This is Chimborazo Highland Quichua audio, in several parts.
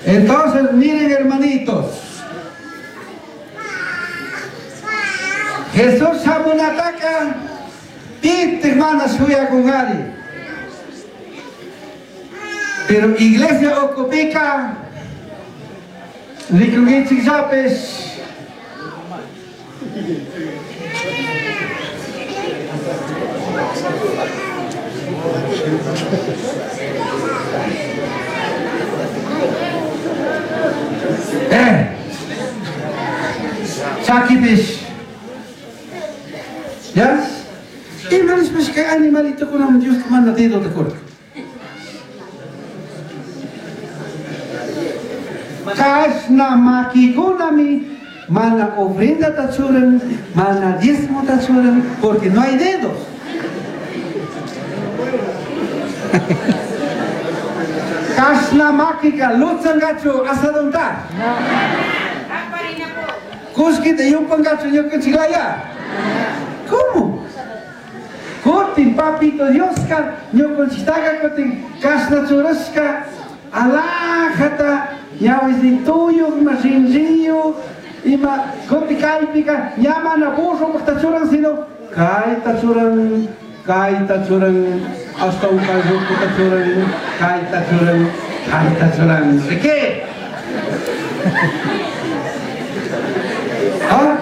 Entonces, miren hermanitos, Jesús shamunataca pitaj mana shuyacungari. Pero iglesia ucupica ricunguichijllapish. Eh, chaquipish. Ya? Ima nishpash kay animalitokunaman Diosca mana dedota curca. Cashna maquicunami mana ofrendata churan, mana diezmota churan, porque no hay dedos. Cashna maquica lutsangachu asadonta. Cullquita yupangachu ñucanchiclaya. ¿Cómo? Cutin Papito Diosca ñucanchitaca cutin cashna churashca alajata ñahuisituyuj ima rinriyuj ima cutin caipica ña mana burropajta churan sino caita churan, caita churan, hasta un carrucuta churan, caita churan, caita churan. ¿De qué? ¿Ah?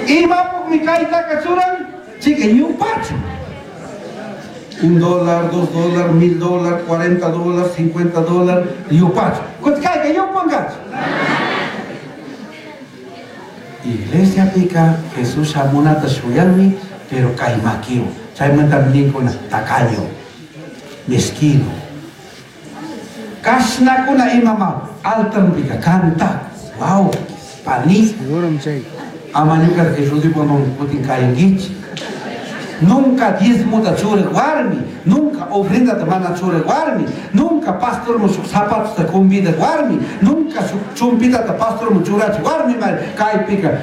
Imapukmi kaytaqa churan? Chica ñupachu. $1, $2, $1000, $40, $50, yupachu. Kutin kayka yupankachu. Iglesiapika Jesús shamunata shuyanmi, pero kay makiwan. Chaymantami ninkuna tacaño, mezquino. Kashnakuna imama altarpika canta. Wow, pani. Seguro chay. Ama ñuka Jesús dipuman kutin kayankichik. Nunca diezmota churaj warmi, nunca ofrendata mana churaj warmi, nunca pastorman shuk zapatota convidaj warmi, nunca shuk chumpitata pastorman churachij warmi mari kaypika.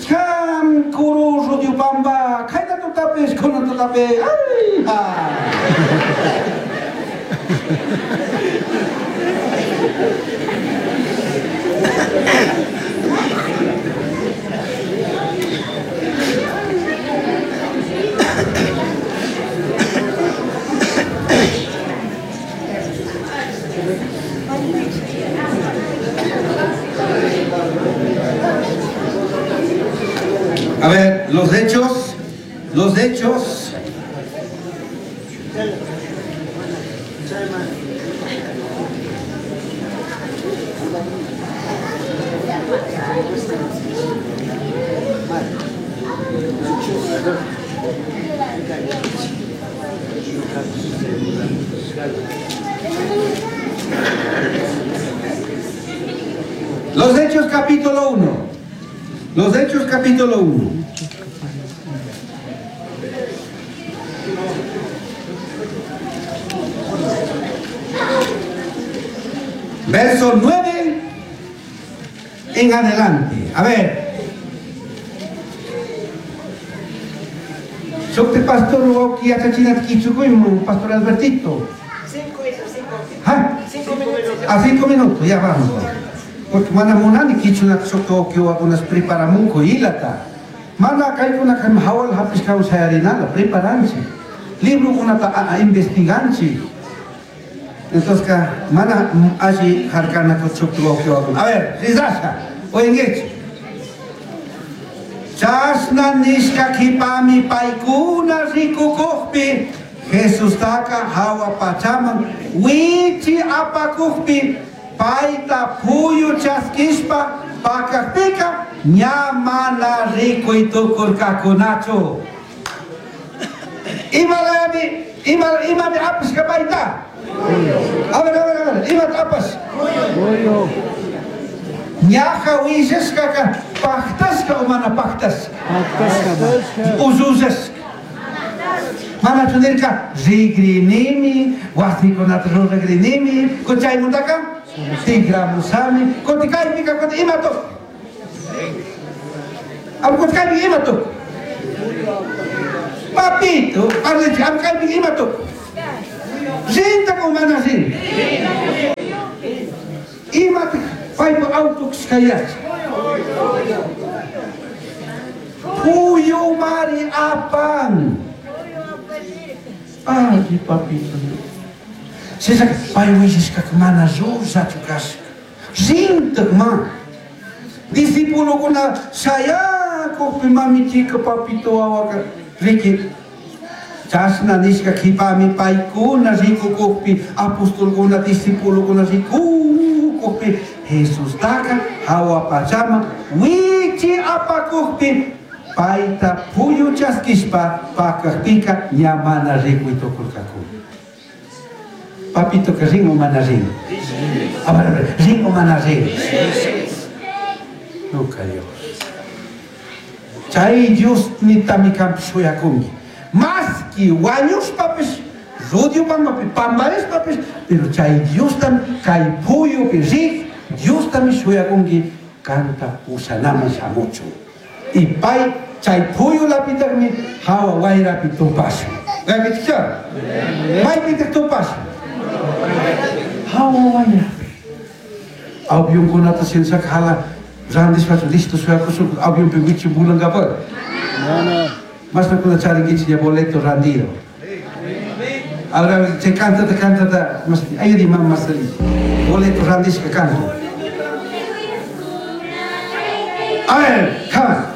Cham kuru Rudiopamba, kayta tutapish, kunan tutapish, ay, ha. A ver, los hechos, los hechos. Los Hechos capítulo 1. Los Hechos capítulo 1. Verso 9 en adelante. A ver. Shukti pastor wauki yachachinata kichukuyman, pastor Albertito. 5, 5. ¿Ah? 5 minutos. A 5 minutos, ya vamos. Porque mana munani kichunata shukti wauki wawakunas preparamunku ilata. Mana kaykunaka hawal hapishkawan shayarinala, preparanchik. Librokunata investiganchik. Entonces, mana alli harkanaku shukti wauki wawakuna. A ver, rizasha, oyenguichik. Chashna nishka kipami paykuna rikukukpi Jesustaka hawa pachaman wichi apakukpi payta puyu chaskishpa pakakpika ña mana rikuy tukurkakunachu. Imalami, ima, imami apashka payta? A ver, a ver, a ver, imata apash? Puyu. Ñaja willashkaka pajtashka o mana pajtashka? Pajtashka. Usushashka. Manachu nirka rigrinimi, wasikunata ruragrinimi, kuchaymundaka tigramusami, kuti kaypika kuti ima tuk? Am kuti kaypika ima tuk? Papito, parlichi, am kaypika ima tuk? Rinta o mana rin? Paipa auto cashcayach. Puyumari apan. Ay, papito. Sisa pay willashkaka mana llullachu kashka. Rintak ma. Discipulokuna shayakukpi mamichika papito wawaka riki. Chashna nishka kipami paykuna rikukukpi apostolkuna discipulokuna rikukukpi Jesustaka hawa pachaman wichi apakukpi payta puyu chaskishpa pakakpika ña mana rikuy tukurkakuna. Papitoka rin o mana rin? A ver, a ver, rin o mana rin? Nunca Dios. Chay Dios nitami kanpish shuyakunki. Maski wañushpapish, rudio pampapi pambarishpapish, pero chay Diostami kay puyupi rik, Diostami shuyakunki kanta pushanaman shamuchun. Y pay chay puyulapitakmi hawa wayrapi tupashun. Maypitikcha? Maypitak tupashun? Hawa wayrapi. Avionkunata sensaka hala randishpachu listo shuyakushun avionpi wichi vulankapak. Mana. Mashnakuna charinkichik ña boleto randido. Ahora chay cantata cantata ayudi mama Marcelita. Boleto randishka kanku. A ver, come on.